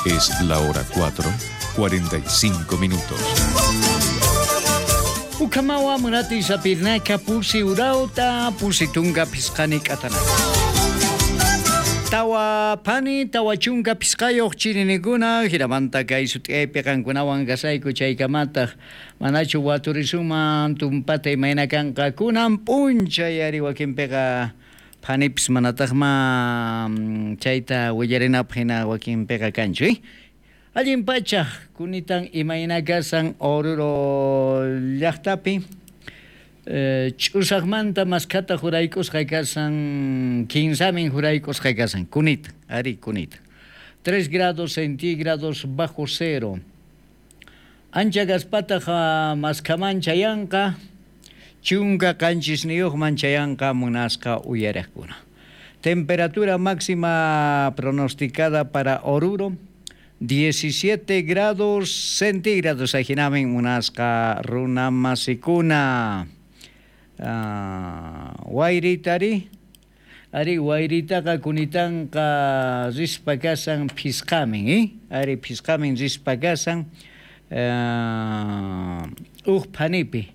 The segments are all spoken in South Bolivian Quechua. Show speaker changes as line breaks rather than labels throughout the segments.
Es la hora 4, 45 minutos.
Ukamawa munati sapirnaka pusi urauta pusi tunga pisqani k'atanaka. Tawa phani tawa chunka pisqayuq chirinikuna hinamanta kay sut'iyaypi qankunawan kasayku chaykamataq manachu waturisuman tumpata imayna kanqa kunan p'unchay ari wakinpiqa phanipis manataqma chayta willarinapaq hina wakinpiqa kanchu Allin pacha kunitan imayna kasan Oruro llaqtapi ch'usaqmanta maskhata juraykusqa kasan kinsamin juraykusqa kasan kunita ari kunita 3 grados centígrados bajo cero ancha kaspataq maskhaman chayanqa chunka qanchisniyuqman chayanqa munasqa uyariqkuna. Temperatura máxima pronosticada para Oruro 17 grados centígrados ajinamin munasqa runa masikuna. Wayritari ari wayritaqa kunitanqa rispa kasan phisqamin ari phisqamin rispa kasan uj phanipi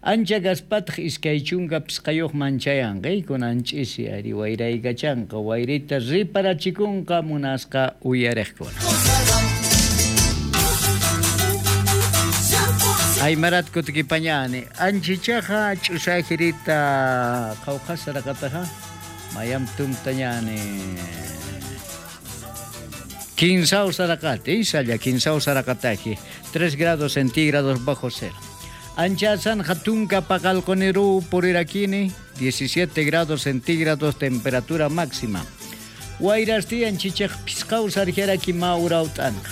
ancha kaspataq iskay chunka pisqayuqman chayanqa kunan ch'isi ari wayraykachanqa wayrita riparachikunqa munasqa uyariqkuna. Aymarat kutikipañani anchichaqa ch'usajirita qhawqasaraqataqa mayam tumtañani kinsaw saraqati isalla kinsaw saraqataji 3 grados centígrados bajo cero. Anchasan hatunka paqalqoniru purirakini 17 grados centígrados temperatura máxima. Wayrasti anchichaq pisqaw sarjaraki maurawt'anqa.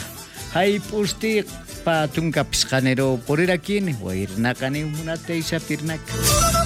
Hayp'usti patunka pisqaniru purirakini wayrnaqani munataysa pirnaka.